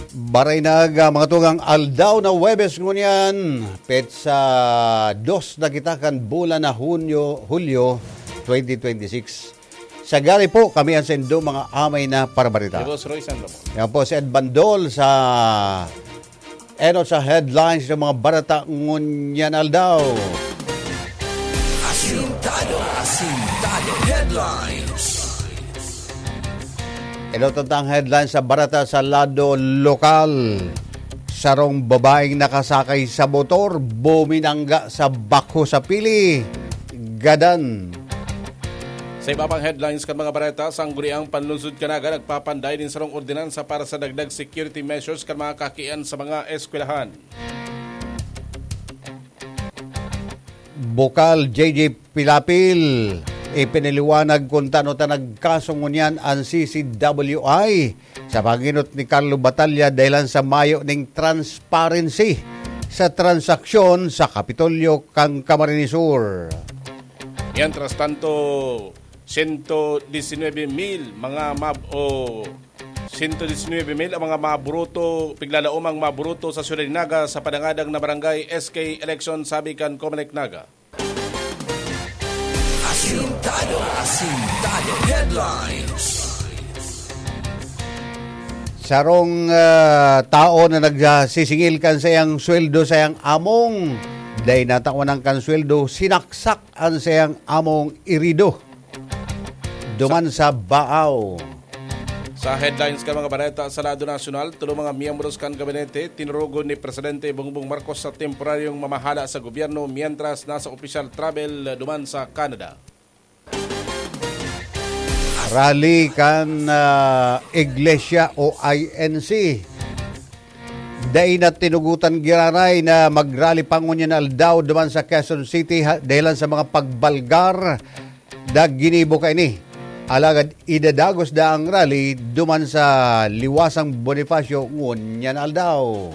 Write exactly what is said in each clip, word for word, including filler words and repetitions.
Baray na aga, mga tugang, aldaw na Huwebes ngunyan, petsa dos na kita kan bulan na Hunyo, Hulyo twenty twenty-six. Sa gari po, kami ang saindo mga amay na parabarita. Ni Boss Roy San Ramon. Yan po si Ed Bandol sa enot sa headlines ng mga barata ngunyan aldaw. Asintado, asintado. Headlines. Ito tang headlines sa barata sa lado lokal. Sarong babaeng nakasakay sa motor, buminangga sa bakho sa Pili, Gadan. Sa iba pang headlines kan mga bareta, Sangguniang Panlungsod kan Naga nagpapanday nin sarong ordinansa para sa dagdag security measures kan mga kakian sa mga eskwelahan. Bukal, J J Pilapil, ipinaliwanag kung tano ta nagkaso ngunyan an C C W I sa panginot ni Carlo Batalla dahilan sa mayo ning transparency sa transaksyon sa Kapitolyo kan Camarines Sur. Mientras tanto, sento disinwebe mil mga mab-, o sento disinwebe mil ang mga maburoto, piglalaomang maburoto sa Siyudad nin Naga sa padangadang na barangay S K election, sabi kan Comelec Naga. Asintado, asintado. Headlines. Sarong, ah, tao na nagsisingil kan sayang sweldo, sayang among, dai natawan ang kan sweldo, sinaksak ang sayang among irido duman sa Baaw. Sa headlines kan mga bareta sa lado nasyonal, tulo mga miyembros kan gabinete tinurugon ni Presidente Bongbong Marcos sa temporaryong mamahala sa gobyerno, mientras nasa opisyal travel duman sa Canada. Rally kan, ah, Iglesia o I N C. Dai na tinugotan giraray na mag-rally pa ngunyan aldaw duman sa Quezon City ha-, dahilan sa mga pagbalgar na ginibo kaini. Alagad idadagos na ang rally duman sa Liwasang Bonifacio ngunyan aldaw.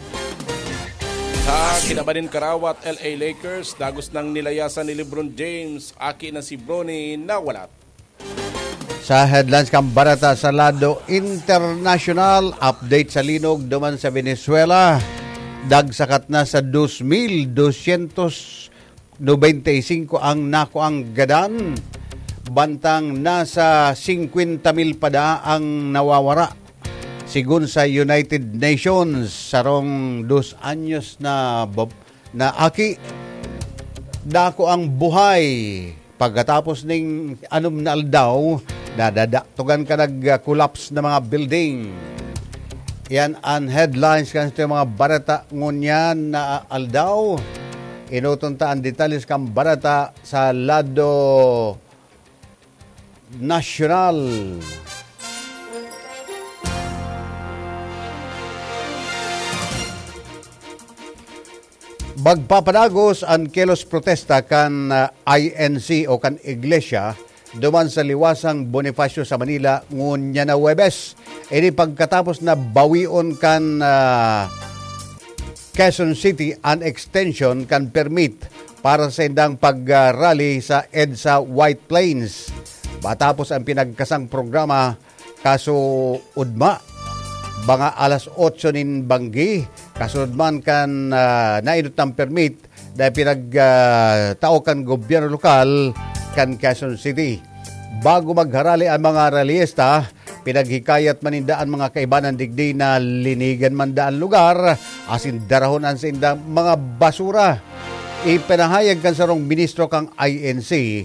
Sa kinaban nin karawat, L A Lakers, dagos nang nilayasan ni LeBron James, aki na si Bronny nawalat. Sa headlines kan bareta sa lado internasyonal, update sa linog duman sa Venezuela. Dagsakat na sa dos mil dosyentos nobenta y singko ang nakuang gadan, bantang nasa singkwenta mil pa daa ang nawawara. Sigon sa United Nations, sarong dos anyos na bab-, na aki, dako ang buhay. Pagkatapos ning anom na aldaw, nadadaktogan ka nag-collapse na mga building. Yan ang headlines kan sa mga bareta ngunyan na aldaw. Enoton ta ang detalles kan bareta sa lado nasyonal. Magpapadagos an kilos protesta kan, ah, I N C o kan Iglesia duman sa Liwasang Bonifacio sa Manila ngunyan na Huwebes. Ini pagkatapos na bawion kan, ah, Quezon City an extension kan permit para sa indang pag-rally sa EDSA White Plains. Matapos ang pinagkasang programa, kaso ugma, mga alas otso nin banggi, kasunod man kan, ah, nainot ng permit na pinag, ah, tao kan gobyerno lokal kan Quezon City. Bago magharali ang mga rallyista, pinaghikayat man ninda an mga kaibanan digdi na linigan man daa an lugar asin darahon an saindang mga basura. Ipinahayag kan sarong ministro kan I N C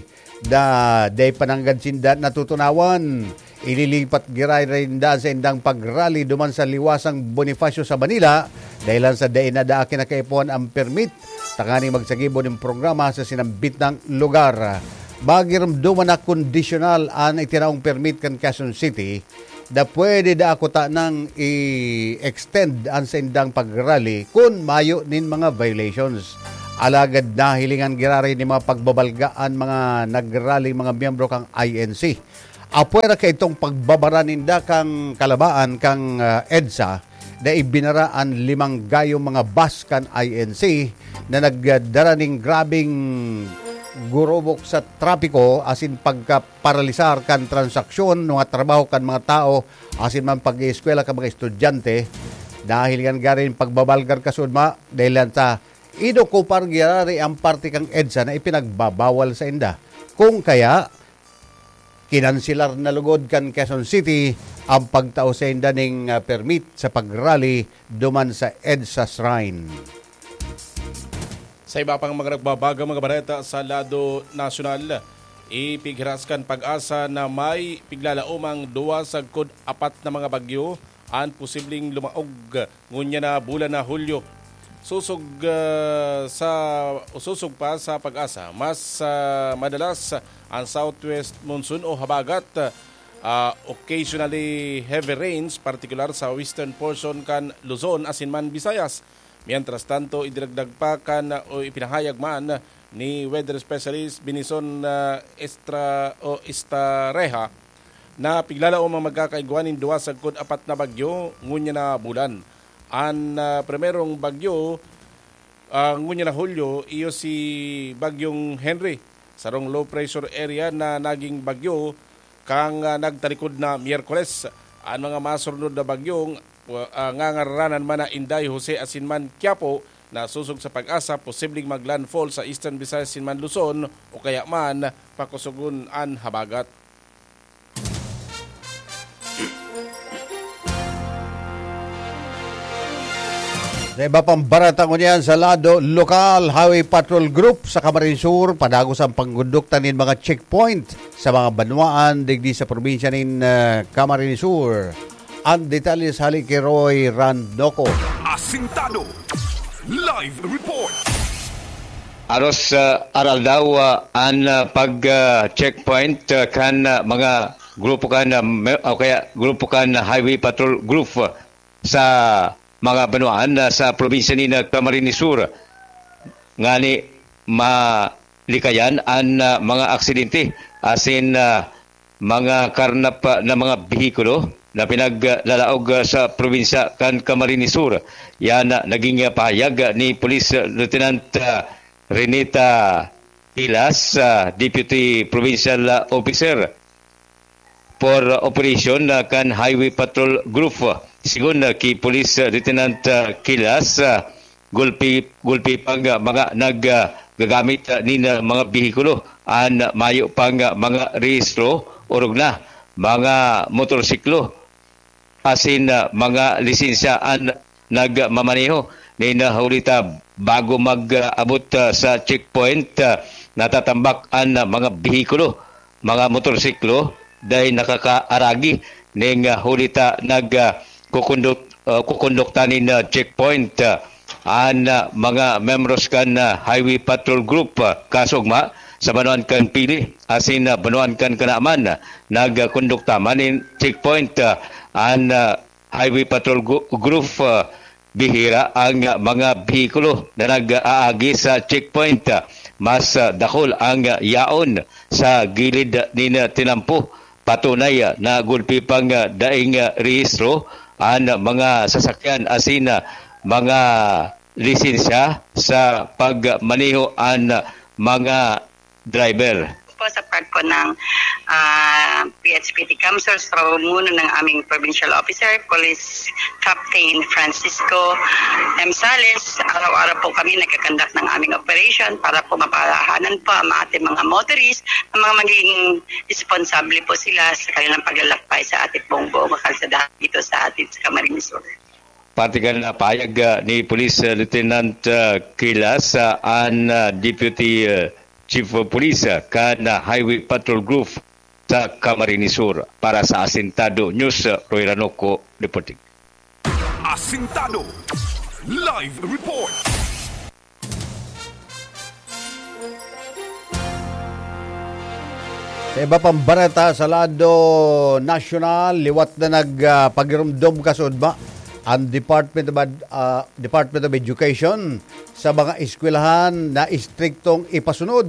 na dai pa nanggad sinda natutunawan. Ililipat giraray ninda an saindang pag-rally duman sa Liwasang Bonifacio sa Manila, dahilan sa dai na daa kinakaipuhan an permit tanganing magsagibo nin programa sa sinambit na lugar. Magiromdoman na kondisyonal an itinaong permit kan Quezon City na pwede daa kutanang i-extend an saindang pag-rally kun mayo nin mga violations. Alagad nahilingan giraray nin mga pagbabalga an mga nag-rally, mga miyembro kan I N C. Apwera kaidtong pagbabara ninda kan kalabaan kan, ah, EDSA na ibinara an limang gayong mga bus kan I N C na nagdara nin grabeng gurubok sa trapiko asin pagkaparalisar kan transaksyon, mga trabaho kan mga tao asin man pag-ieskwela kan mga estudyante. Dahil kan garo nin pagbabalgar kasuodma, dahilan ta inokupar giraray an parte kan EDSA na ipinagbabawal sainda. Kung kaya, kinanselar na lugod kan Quezon City an pagtao sainda nin, ah, permit sa pag-rally duman sa EDSA Shrine. Sa iba pang mga nagbabagang mga bareta sa lado nasyonal, ipighiras kan PAGASA na may piglalaomang duwa sagkod apat na mga bagyo an posibleng lumaog ngunyan na bulan na Hulyo. Sosog, ah, sa, o sosog pa sa PAGASA, mas, ah, madalas ang southwest monsoon o habagat, ah, occasionally heavy rains, partikular sa western portion kan Luzon asin man Visayas. Mientras tanto, idinagdag pa kan, o ipinahayag man ni weather specialist Benison, ah, Estra-, o Estareja, na piglalaom ang magkakaigwa nin duwa sagkod apat na bagyo ngunyan na bulan. An, ah, primerong bagyo, ah, ngunyan na Hulyo, iyo si Bagyong Henry, sarong low pressure area na naging bagyo kan, ah, nagtalikod na Miyerkules. An mga masurnod na bagyong, ah, ngangaranan man na Inday, Jose asin man Quiapo, na sosog sa PAGASA, posibleng maglandfall sa Eastern Visayas asin man Luzon o kaya man pakusogon an habagat. Sa iba pang bareta ngunyan sa lado lokal, Highway Patrol Group sa Camarines Sur, padagos ang pagkondukta nin mga checkpoint sa mga banwaan digdi sa probinsya nin, ah, Camarines Sur. Ang detalye sa hali ki Roy Randoco. Asintado. Live report. Aros, ah, aral daw, ah, an, ah, pag, ah, checkpoint, ah, kan, ah, mga grupo kan, ah, me-, o kaya grupo kan Highway Patrol Group, ah, sa mga banwaan, ah, sa probinsya ni Camarines Sur. Ngani malikayan an, ah, mga aksidente asin, ah, mga karnap, ah, na mga behikulo na pinaglalaog, ah, sa probinsya kan Camarines Sur. Yan, ah, naging, ah, pahayag, ah, ni Police Lieutenant, ah, Renita Pilas, ah, Deputy Provincial, ah, Officer for Operation, ah, kan Highway Patrol Group. Sigon, ah, ki Police, ah, Lieutenant, ah, Kilas, ah, gulpi, gulpi pang, ah, mga nag, ah, gagamit, ah, nin, ah, mga behikulo an mayo pang, ah, mga rehistro, orog na mga motorsiklo asin, ah, mga lisensya an nagmamaneho nin, ah, huli ta bago mag, ah, abot, ah, sa checkpoint, ah, natatambak an, ah, mga behikulo, mga motorsiklo, dai nakakaaragi ning, ah, huli ta nag, ah, kukonduk-, ah, kukondukta nin, ah, checkpoint, ah, an, ah, mga membros kan, ah, Highway Patrol Group, ah, kasugma sa banwaan kan Pili asin, ah, banwaan kan Canaman, ah, nagkondukta man nin checkpoint, ah, an, ah, Highway Patrol Gu-, Group, ah, bihira ang, ah, mga behikulo na nag-aagi sa checkpoint. Ah, mas, ah, dakul ang, ah, yaon sa gilid nin, ah, tinampo. Patunay, ah, na gulpi pang, ah, daing, ah, rehistro an mga sasakyan asin, ah, mga lisensya sa pagmaneho an, ah, mga driver. Po sa part po ng, ah, P H P T CamSur sa pamumuno ng aming provincial officer, Police Captain Francisco M. Sales, araw-araw po kami nagkakandak ng aming operation para po maparahanan po ang ating mga motorist na mga magiging responsable po sila sa kanilang paglalakbay sa ating pong buong kalsada dito sa ating sa Camarines Sur. Parte kan, ah, pahayag, ah, ni Police, ah, Lieutenant, ah, Kilas, ah, an, ah, Deputy, ah, Chief of Police, ah, kan, ah, Highway Patrol Group sa Camarines Sur. Para sa Asintado News, ah, Roy Ranoco, reporting. Asintado. Live report. Sa iba pang bareta sa lado nasyonal, liwat na nag, ah, pagirumdom kasuodma ang Department of Ad-, ah, Department of Education sa mga eskwelahan na istriktong ipasunod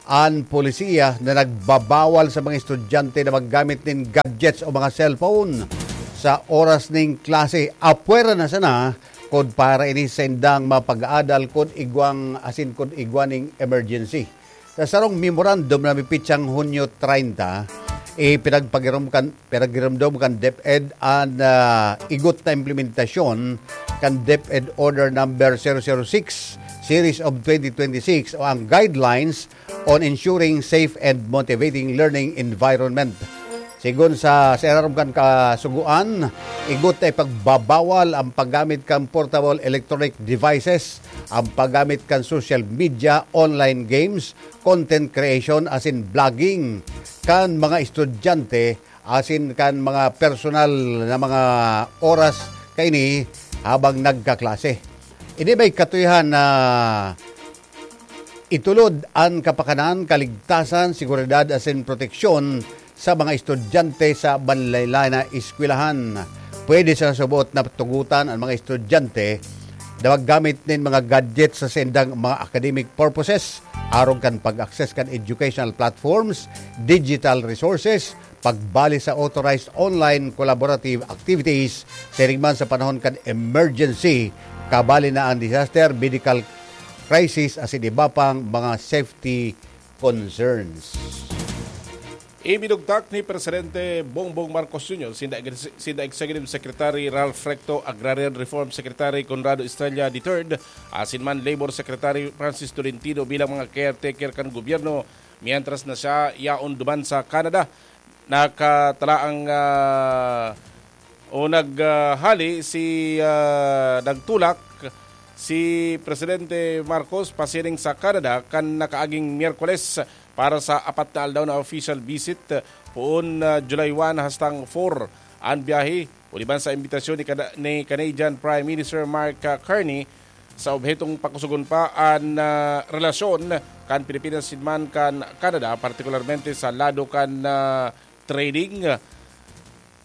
an polisiya na nagbabawal sa mga estudyante na maggamit nin gadgets o mga cellphone sa oras nin klase. Apwera na sana kun para ini sa indang mga pag-aadal kun igwang asin kun igwa ning emergency. Sa sarong memorandum na mipitsang Hunyo treinta, Ipinagpagirom kan, pinagiromdom kan DepEd an, ah, igot na implementasyon kan DepEd Order Number zero zero six Series of twenty twenty-six o ang Guidelines on Ensuring Safe and Motivating Learning Environment. Sigon sa Senarom kan Kasugoan, igot na ipagbabawal ang paggamit kan portable electronic devices, ang paggamit kan social media, online games, content creation asin blogging kan mga estudyante asin kan mga personal na mga oras kaini habang nagkaklase. Ini may katuyahan na itulod an kapakanan, kaligtasan, seguridad asin proteksyon sa mga estudyante sa manlaylay na eskwelahan. Pwede sa subot na tugutan an mga estudyante na maggamit nin mga gadget sa saindang mga academic purposes, arog kan pag-access kan educational platforms, digital resources, pagbali sa authorized online collaborative activities, siring man sa panahon kan emergency, kabali na ang disaster, medical crisis, asin iba pang mga safety concerns. Ibinugtak ni Presidente Bongbong Marcos Junior sinda, sinda Executive Secretary Ralph Recto, Agrarian Reform Secretary Conrado Estrella the third, asin man Labor Secretary Francis Tolentino bilang mga caretaker kan gobyerno, mientras na siya yaon duman sa Canada. Nakatalaang, ah, o nag, ah, hali si, ah, nagtulak si Presidente Marcos pasiring sa Canada kan nakaaging Miyerkules para sa apat na aldaw na official visit, poon, ah, July one hastang four an biyahe. Uliban sa imbitasyon ni Cana-, ni Canadian Prime Minister Mark, ah, Carney, sa obhetong pakusugon pa an, ah, relasyon kan Pilipinas asin man kan Canada, partikularmente sa lado kan, ah, trading,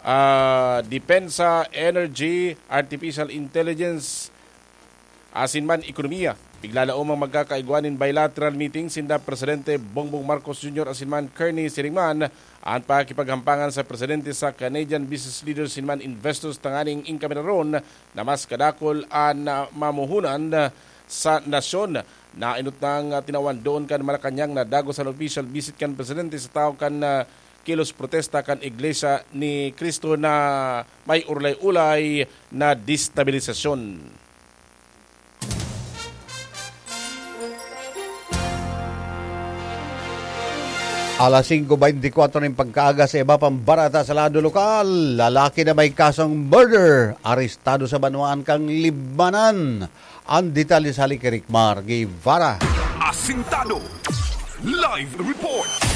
ah, depensa, energy, artificial intelligence, asin man ekonomiya. Bigla laomang magkakaigwa nin bilateral meeting sinda Presidente Bongbong Marcos Junior asin man Kearney siring man an pakikipaghampangan sa presidente sa Canadian business leaders asin man investors tanganing inkameraron na mas kadakul an, ah, mamuhunan, ah, sa nasyon. Nainot nang, ah, tinawan doon kan Malacañang na dagos an official visit kan presidente sa tahaw kan, ah, kilos protesta kan Iglesia ni Cristo na may ulay-ulay na destabilisasyon. Alas singko beintikwatro nin pagkaaga sa iba pang barata sa lado lokal. Lalaki na may kasong murder, arestado sa banwaan kan Libmanan. Ang detalye sa hali ki Rickmar Guevara. Asintado. Live report.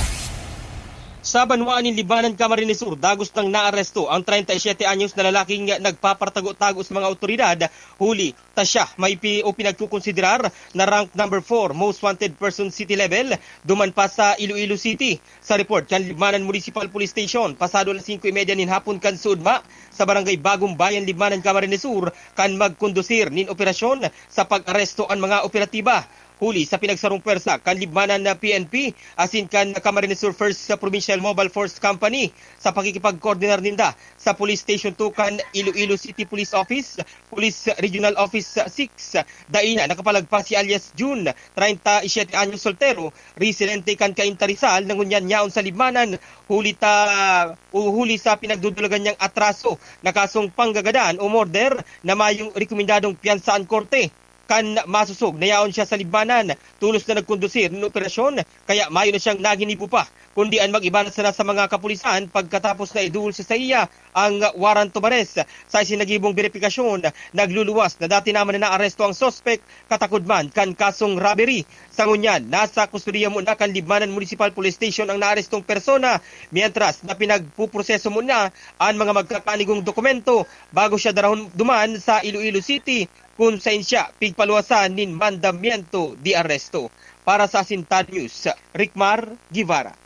Sa banwaan nin Libmanan, Camarines Sur, dagos nang naaresto ang treinta y siete anyos na lalaking nagpapartago-tago sa mga awtoridad, huli ta siya may pi-, o pinagkukonsiderar na rank number four most wanted person city level, duman pa sa Iloilo City. Sa report kan Libmanan Municipal Police Station, pasado alas singko y media nin hapon kan suodma, sa Barangay Bagong Bayan, Libmanan, Camarines Sur, kan magkondusir nin operasyon sa pag-aresto an mga operatiba. Huli sa pinagsarong pwersa kan Libmanan na P N P asin kan Camarines Sur First Provincial Mobile Force Company sa pakikipagkoordinar ninda sa Police Station two kan Iloilo City Police Office, Police Regional Office six, dai na nakapalagpas si alias June, treinta y siete anyos, soltero, residente kan Cainta, Rizal, na ngunyan yaon sa Libmanan, huli ta, o huli sa pinagdudulagan niyang atraso na kasong panggagadan o murder na mayong rekomendadong piyansa an korte. Kan masosog na yaon siya sa Libmanan, tolos na nagkondusir nin operasyon, kaya mayo na siyang naginibo pa, kundi an mag-iba na sana sa mga kapulisan pagkatapos na iduol sa saiya ang warrant of arrest. Sa isinagibong beripikasyon, nagluluwas na dati naman na naaresto ang suspek, katakod man kan kasong robbery. Sa ngunyan, nasa kustodiya muna kan Libmanan Municipal Police Station ang naarestong persona, mientras na pinagpuproseso muna an mga magkakanigong dokumento bago siya darahon duman sa Iloilo City, kun saen siya pigpaluwasan nin mandamiento de arresto. Para sa Asintado News, Rickmar Guevara.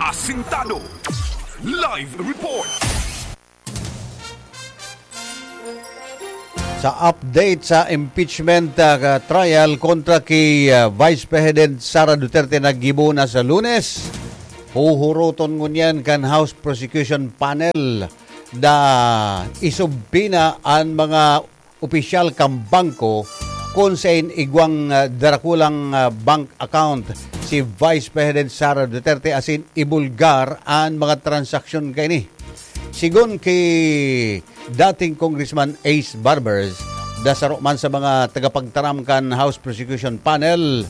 Asintado. Live report. Sa update sa impeachment, ah, trial kontra ki, ah, Vice President Sara Duterte na gibo na sa Lunes, huhuroton ngunyan kan House Prosecution Panel na isubpina an mga opisyal kan bangko kun saen igwang, ah, darakulang, ah, bank account Vice President Sara Duterte asin ibulgar an mga transaksyon kaini. Sigon ki dating Congressman Ace Barbers, da saro man sa mga tagapagtaram kan House Prosecution Panel,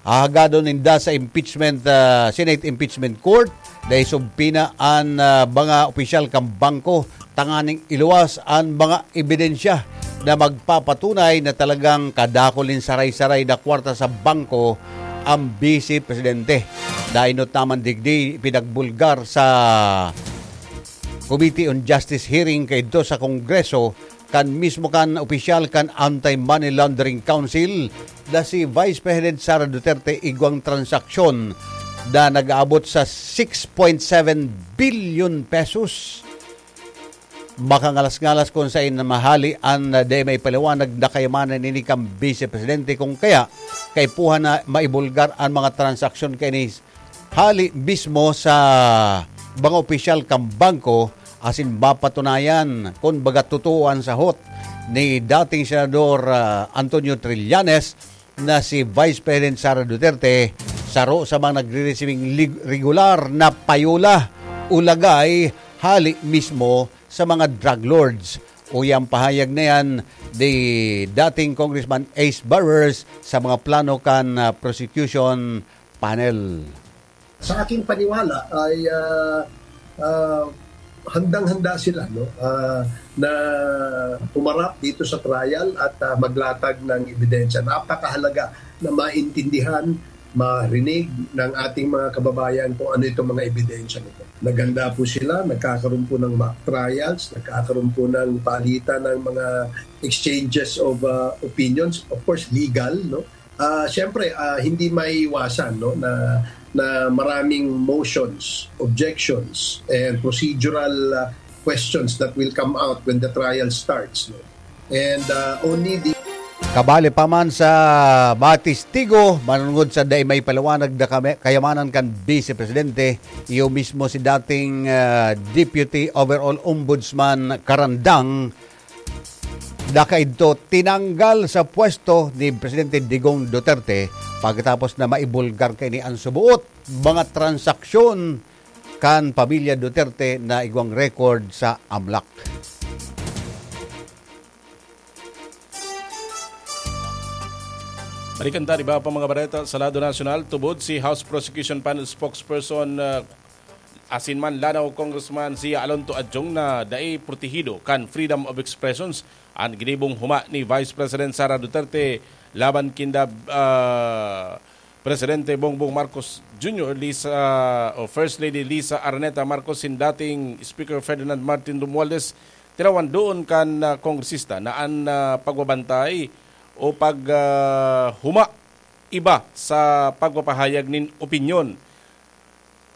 hahagadon ninda sa impeachment, ah, Senate Impeachment Court na isubpina an, ah, mga opisyal kan bangko tanganing iluwas an mga ebidensya na magpapatunay na talagang kadakul nin saray-saray na kwarta sa bangko ang Vice Presidente. Dainot naman digdi, pinagbulgar sa Committee on Justice hearing kaidto sa Kongreso kan mismo kan opisyal kan Anti-Money Laundering Council na si Vice President Sara Duterte igwang transaksyon na nag-aabot sa six point seven billion pesos. Makangalas-ngalas kung sain na mahali an, ah, di maipaliwanag na kayamanan nini kan Vice Presidente, kung kaya kaipuhan na maibulgar an mga transaksyon kaini hali mismo sa mga opisyal kan bangko asin mapatunayan kun baga totoo an sahot ni dating Senador, ah, Antonio Trillanes na si Vice President Sara Duterte saro sa mga nagre-resibing lig-, regular na payola o lagay hali mismo sa mga drug lords. Uya an pahayag na yan ni dating Congressman Ace Barbers sa mga plano kan, ah, prosecution panel. Sa aking paniwala ay, ah, ah, handang-handa sila, no, ah, na humarap dito sa trial at, ah, maglatag ng ebidensya. Napakahalaga na maintindihan, marinig ng ating mga kababayan kung ano itong mga ebidensya nito. Naghanda po sila, nagkakaroon po ng mock trials, nagkakaroon po ng palitan ng mga exchanges of, ah, opinions, of course, legal, no? Ah, siyempre, ah, hindi maiiwasan, no, na, na maraming motions, objections, and procedural, ah, questions that will come out when the trial starts, no? And, ah, only the Kabali pa man sa mga testigo, manunod sa dai maipaliwanag na kami-, kayamanan kan Vice Presidente, iyo mismo si dating, ah, Deputy Overall Ombudsman Karandang, na kaidto tinanggal sa pwesto ni Presidente Digong Duterte pagkatapos na maibulgar kaini an subuot mga transaksyon kan pamilya Duterte na igwang record sa AMLAC. Balikan ta, di ba, pa mga bareta sa lado nasyonal, tubod si House Prosecution Panel Spokesperson, ah, asin man Lanao Congressman Zia Alonto Adjong na dai protehido kan freedom of expressions an ginibong huma ni Vice President Sara Duterte laban kinda, ah, Presidente Bongbong Marcos Junior, Lisa, o First Lady Lisa Araneta Marcos, sin dating Speaker Ferdinand Martin Romualdez, tinawan doon kan, ah, kongresista na an, ah, pagbabantay o pag, ah, huma iba sa pagpapahayag nin opinyon.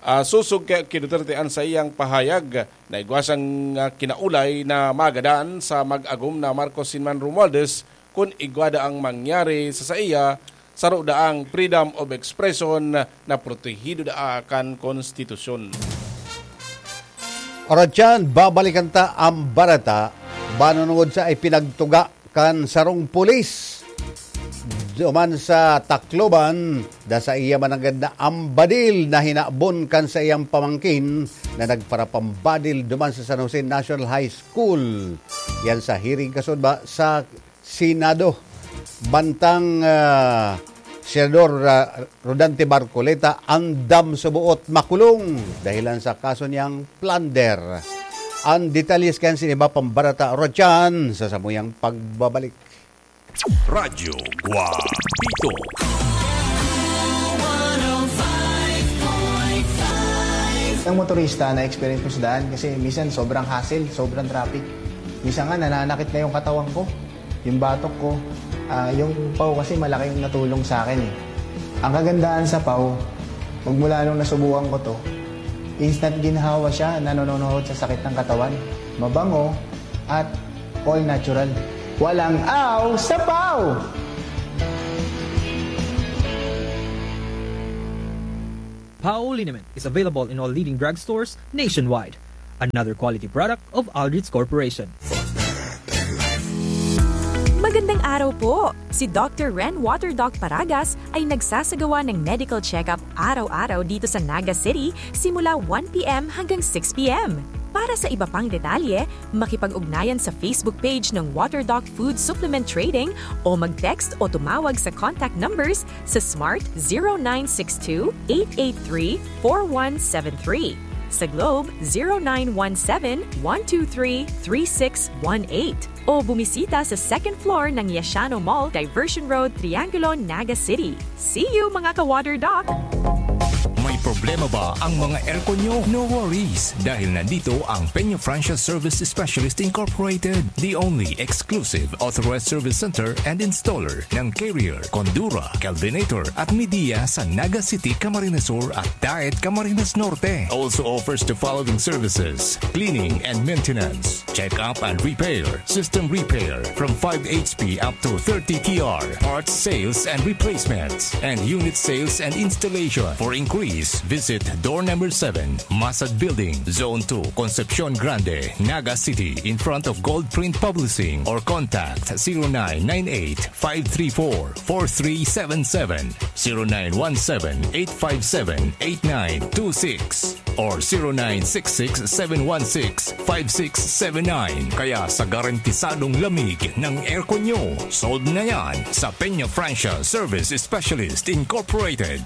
Ah, sosog kay, ki Duterte an saiyang pahayag na igwa siyang, ah, kinaulay na magadan sa mag-agom na Marcos sin man Romualdez kun igwa daang mangyari sa saiya, saro daang freedom of expression na protehido daa kan konstitusyon. Oras yan, babalikan ta ang bareta, banonongod sa ipinagtuga kan sarong pulis duman sa Tacloban, na saiya mananggad na ambadil na hinabon kan saiyang pamangkin na nagparapambadil duman sa San Jose National High School. Yan sa hearing kasunod ba sa Senado. Bantang, ah, Senador, ah, Rodante Marcoleta, andam sa buot makulong dahilan sa kaso niyang plunder. Ang detalyes kan siniba pambarata, Rochan, sa samuyang pagbabalik. Radyo Guapito. Ang motorista na experience ko sa daan kasi minsan sobrang hassle, sobrang traffic. Minsan nga nananakit na yung katawan ko, yung batok ko. Ah, yung pau kasi malaking natulong sa akin eh. Ang kagandahan sa pau, magmula nung nasubukan ko to, instant ginhawa siya, nanononohod sa sakit ng katawan. Mabango at all natural. Walang aw sa pau! Pau liniment is available in all leading drugstores nationwide. Another quality product of Aldrich Corporation. Gandang araw po! Si Doctor Ren Water Doc Paragas ay nagsasagawa ng medical check-up araw-araw dito sa Naga City simula one p m hanggang six p m. Para sa iba pang detalye, makipag-ugnayan sa Facebook page ng Water Doc Food Supplement Trading o mag-text o tumawag sa contact numbers sa Smart zero nine six two, eight eight three, four one seven three, sa Globe zero nine one seven, one two three, three six one eight, o bumisita sa second floor ng Yashano Mall, Diversion Road, Triangulo, Naga City. See you, mga ka-Water Doc! May problema ba ang mga aircon nyo? No worries, dahil nandito ang Peña Francia Service Specialist Incorporated, the only exclusive authorized service center and installer ng Carrier, Condura, Kelvinator at Midea sa Naga City, Camarines Sur at Daet, Camarines Norte. Also offers the following services: cleaning and maintenance, check-up and repair, system repair, from five H P up to thirty T R, parts sales and replacements, and unit sales and installation. For inquiries, visit door number seven, Masad Building, Zone two, Concepcion Grande, Naga City, in front of Gold Print Publishing, or contact zero nine nine eight, five three four, four three seven seven, zero nine one seven, eight five seven, eight nine two six or zero nine six six, seven one six, five six seven nine. Kaya sa garantisadong lamig ng aircon nyo, solve na yan sa Peña Francia Service Specialist Incorporated.